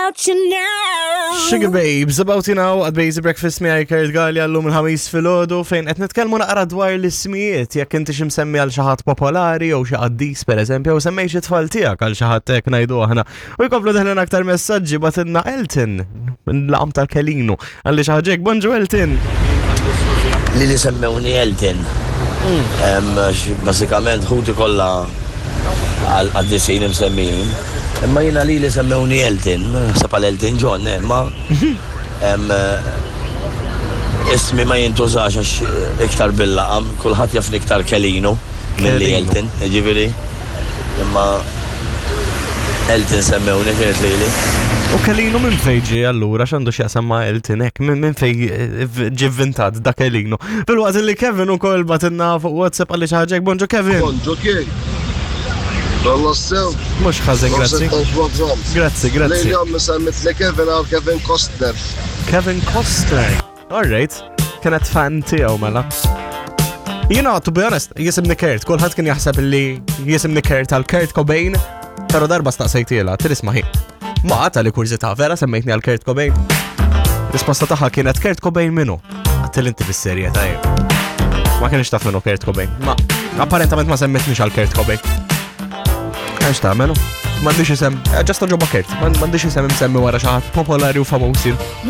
About you now. Sugababes, About You Now, għad Basic Breakfast miegħi Kurt Gallia llum il-ħamis filgħodu fejn qed nitkellmu naqra dwar l-ismijiet jekk inti xi msemmi għal xi ħadd popolari jew xi qaddis pereżempju jew semmej xi tfal tiegħek għal xi ħadd hekk ngħidu aħna. U jkomplu deħlin aktar messaġġi batilna Elton laqam tal-Kelinu għalli xi ħaġa hekk. Bonġu Elton. Li li semmewni Elton. Basikament ħuti kollha għal qaddisin imsemmijin. Imma jiena li li semmewni Elton, naħseb għal Elton John, eh, ma ismi ma jintużax għax iktar bil-laqam, kulħadd jafni iktar Kelinu milli Elton, jiġifieri. Imma Elton semmewni kienet lili. U Kelinu minn fej ġie allura x'għandu x'jaqsam ma' Elton hekk minn fej eh, ġie vvintat da Kelinu. Filwaqt li Kevin ukoll batilna fuq WhatsApp għalli xi ħaġa hekk. Bonġu Kevin. Bonġu kien. Kollox sew. Mhux ħażin, grazzi. Grazzi, grazzi. Lejli ommi semmitli Kevin għal Kevin Costner. Kevin Costner. All right, kienet fan tiegħu mela. Jina, to be honest, jisimni Kurt, kulħadd kien jaħseb li jisimni Kurt għal Kurt Cobain, pero darba staqsejtiela, tirisma hi. Ma għata li kurżità, vera semmejtni għal Kurt Cobain. Risposta tagħha kienet Kurt Cobain minu. Għattil inti bis-serjetà jien. Ma kienx taf minnu Kurt Cobain. Ma apparentament ma semmitnix għal Kurt Cobain. Għax tagħmelu? M'għandix isem, eh, ġasta ġobba Kurt, m'għandix isem imsemmi wara xi ħadd popolari u famuż jien.